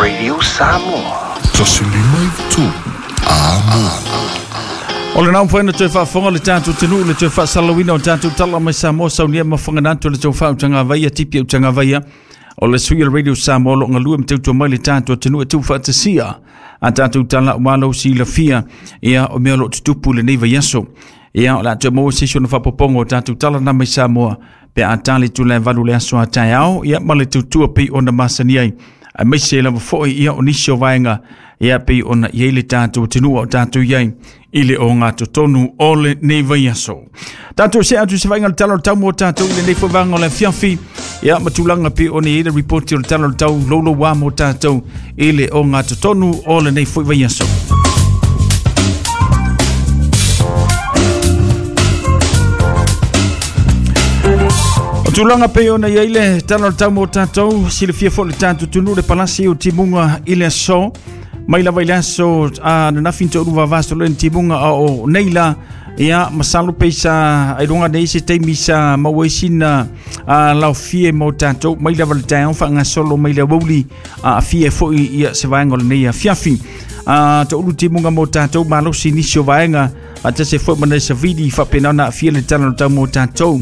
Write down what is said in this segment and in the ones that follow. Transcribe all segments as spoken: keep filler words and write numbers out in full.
Radio Samoa. Tasi lima i tolu. Amo. O le nau whaina toe whaafonga le tātou tenu le toe whaasalawina o tātou tala mai Samoa saunia mafanganatu le tau whautanga vaia tipi au tanga vaia. O le sui o le Radio Samoa lo ngalua me tautua mai le tātou tenu e tau whaatasia. A tātou tala walo si la fia ia o mea lo tutupu le nei vaiaso. Ia o la te mo se sona whapopongo o tātou tala na mai Samoa pe a tali tu le valu le aso a tai ao ia ma le tautua pei ona masani ai. A meise lava foi ia o nisi o vaenga ia pei ona iai le tātou tenua o tātou iai i le o ngā totonu o le nei vaiaso. Tātou se atu se vainga le tala o le tau mo tātou i le nei foi vanga o le fiafi ia matulanga pei ona iai le ripoti o le tala o le tau lolo wā mo tātou i le o ngā totonu o le nei foi vaiaso. O tulaga pei ona iai le tala o le tau mo tātou, silafia foi le tātou tunu le palasi o timuga i le aso. Mai lava i le aso a nanafi to'ulu vavaso le timuga a o nei la ia masalo pe sa ailoga nei se taimi sa maua ai sina a laofie mo tātou mai lava le taeao faagasolo mai le aoauli a afia foi ia se vaega o lenei afiafi. A to'ulu timuga mo tātou malosi nisi o vaega faatasi foi ma nai savili faapena ona aafia le tala o le tau mo tātou.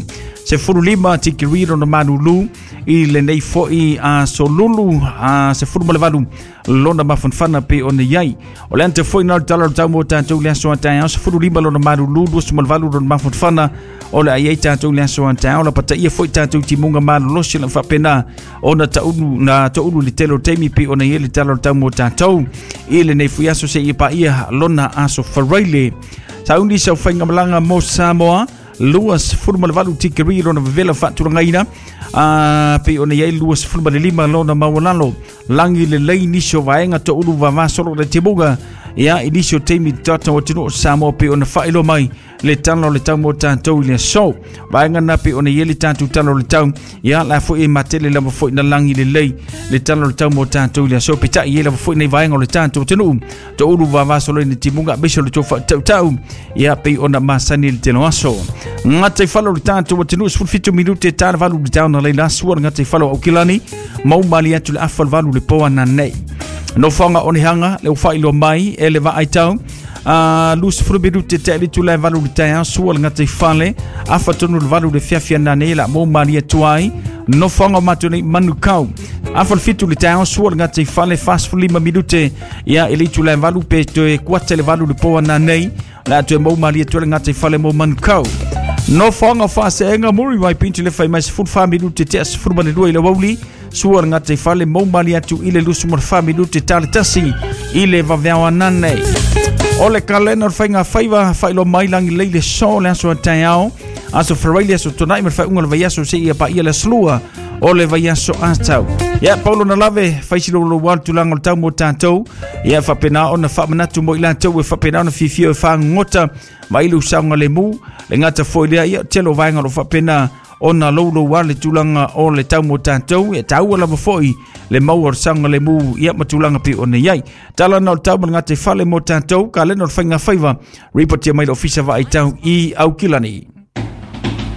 Se fulu lima tikiri lona malulu i lenei foi a solulu a se fulu ma le valu lona mafanafana pe ona iai. O le ante foi na le tala o le tau mo tātou le aso a taeao se fulu lima lona malulu luasu ma le valu lona mafanafana o le ai ai tātou le aso a taeao la pataia foi tātou timuga malolosi la faapena ona taulu na taulu le tele o taimi pe ona iai le tala o le tau mo tātou i lenei foi aso seia paia lona aso faraile. Sauni sau faigamalaga mo Samoa lua sefulu ma le valu tikeri lona vevela faatulagaina a pei ona iai lua sefulu ma le lima lona maualalo lagi lelei nisi o vaega toulu vavasolo le timuga ia i nisi o taimi tata o atunuu o Samoa pei ona faailoa mai le tala o le tau mo tātou i le aso. Vaega na pei ona iai le tātou tala o le tau ia la foi e matele lava foi na lagi lelei le tala o le tau mo tātou i le aso peitai iai lava foi nei vaega o le tātou atunuu toulu vavasolo i le timuga aemaise o le tou faatautau ia pei ona masani le tele o aso. Gata i fale o le tātou atunuu sefulu fitu minute ta le valu le taona leila sua le gata i fale o Aukilani mau mali atu le afa le valu le po ananei. Nofoaga onehanga le ua faailoa mai e le vaai tau a luasefulu minute te alitu le valu le taeao sua le gata i fale afa tonu le valu le fiafia nanei la mo mali atu ai. Nofoaga o matou nei Manukau afa le fitu le taeao sua le gata i fale fasefulu lima minute ia e le itula e valu pe toe kuata le valu le po ananei la toe mau mali atu le gata i fale mo Manukau. Nofoaga o Faaseega Muriwai Pinto le fai mai sefulu fa minute tea sefulu ma le lua i le aoauli sua le gata i fale mau mali atu i le lusu ma le fa minute ta le tasi i le vaveao ananei. O le kalena o le faiga faiva faailoa mai lagi lei le so le aso a taeao aso faraile aso tona'i ma le faaiuga o le vaiaso seia paia le asolua o le vaiaso atau. Ia paulo na lave faisiloulouā le tulaga o le tau mo tātou ia faapena ona faamanatu mo i latou e faapena ona fiafia e fagogota ma i le usaoga lemu le gata foi lea ia tele o vaega o lo faapena ona loulouā le tulaga o le tau mo tātou e taua lava foi le maua o le saoga lemu ia ma tulaga pei ona iai. Tala na o le tau ma le gata i fale mo tātou kalena o le faiga faiva ripotia mai le ofisa vaaitau i Aukilani.